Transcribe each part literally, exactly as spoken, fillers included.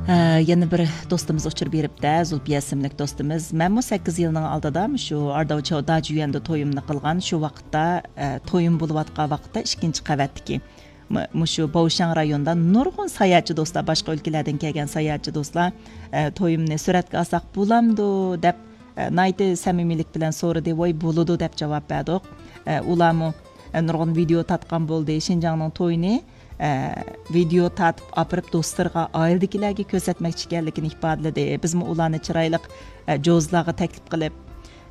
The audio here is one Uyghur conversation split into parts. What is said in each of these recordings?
يەنە بىر دوستىمىز ئۇچۇر بېرىپتە، زۇلپىيە ئىسىملىك دوستىمىز. مەنمۇ سەككىز يىلنىڭ ئالدىدا مۇشۇ ئارداۋ چاۋدا جۈيۈەندە تويۇمنى قىلغان. شۇ ۋاقىتتا، ئە، تويۇم بولۇۋاتقان ۋاقىتتا ئىككىنچى قەۋەتتىكى م-، مۇشۇ باۋشاڭ رايونىدا نۇرغۇن ساياھەتچى دوستلار، باشقا ئۆلكىلەردىن كەلگەن ساياھەتچى دوستلار، ئە، تويۇمنى سۈرەتكە ئالساق بولامدۇ دەپ، ئە، ناھايىتى سەمىمىيلىك بىلەن سورىدى. ۋاي، بولىدۇ دەپ جاۋاب بەردۇق. ئە، ئۇلارمۇ، ئە، نۇرغۇن ۋىدېئو تارتقان بولدى. شىنجاڭنىڭ تويىنى، ئە، ۋىدېئو تارتىپ ئاپىرىپ دوستلىرىغا، ئائىلىدىكىلەرگە كۆرسەتمەكچى ئىكەنلىكىنى ئىپادىلىدى. بىزمۇ ئۇلارنى چىرايلىق، ئە، جوزىلارغا تەكلىپ قىلىپ،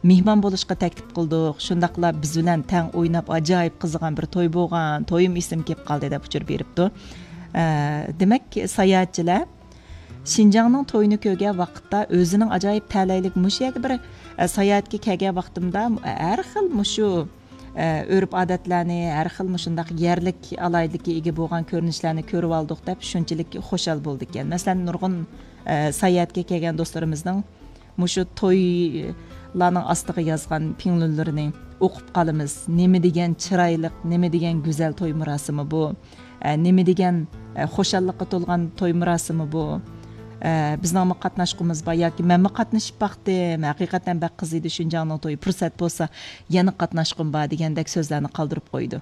مېھمان بولۇشقا تەكلىپ قىلدۇق. شۇنداقلا بىز بىلەن تەڭ ئويناپ ئاجايىپ قىزىغان بىر توي بولغان. تويۇم ئېسىمگە كېلىپ قالدى دەپ ئۇچۇر بېرىپتۇ. ئە، دېمەك، ساياھەتچىلەر شىنجاڭنىڭ تويىنى كۆرگەن ۋاقىتتا ئۆزىنىڭ ئاجايىپ تەلەيلىك مۇشۇ يەرگە بىر، ئە، ساياھەتكە كەلگەن ۋاقتىمدا ھەر خىل مۇشۇ، ئە، ئۆرپ-ئادەتلەرنى، ھەر خىل مۇشۇنداق يەرلىك ئالاھىدىلىككە ئىگە بولغان كۆرۈنۈشلەرنى كۆرۈۋالدۇق دەپ شۇنچىلىك خۇشال بولىدىكەن. مەسىلەن، نۇرغۇن، ئە، ساياھەتكە كەلگەن دوستلىرىمىزنىڭ مۇشۇ تويلارنىڭ ئاستىغا يازغان پىڭلۈنلىرىنى ئوقۇپ قالىمىز. نېمە دېگەن چىرايلىق، نېمە دېگەن گۈزەل توي مۇراسىمى بۇ. ئە، نېمە دېگەن، ئە، خۇشاللىققا تولغان توي مۇراسىمى بۇ. ئە، بىزنىڭمۇ قاتناشقۇمىز بار ياكى مەنمۇ قاتنىشىپ باقتىم، ھەقىقەتەن بەك قىز ئىدى شىنجاڭنىڭ تويى، پۇرسەت بولسا يەنە قاتناشقۇم بار دېگەندەك سۆزلەرنى قالدۇرۇپ قويىدۇ.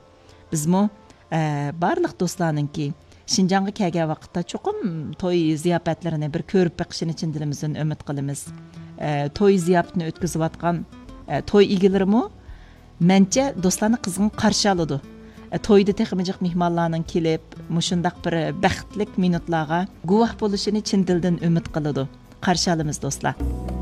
بىزمۇ، ئە، بارلىق دوستلارنىڭكى شىنجاڭغا كەلگەن ۋاقىتتا چوقۇم توي زىياپەتلىرىنى بىر كۆرۈپ بېقىشىنى چىن دىلىمىزدىن ئۈمىد قىلىمىز. ئە، توي زىياپىتىنى ئۆتكۈزۈۋاتقان، ئە، توي ئىگىلىرىمۇ مەنچە دوستلارنى قىزغىن قارشى ئالىدۇ. ئە، تويدا تېخىمۇ جىق مېھمانلارنىڭ كېلىپ، مۇشۇنداق بىر بەختلىك مىنۇتلارغا گۇۋاھ بولۇشىنى چىن دىلدىن ئۈمىد قىلىدۇ. قارشى ئالىمىز، دوستلار.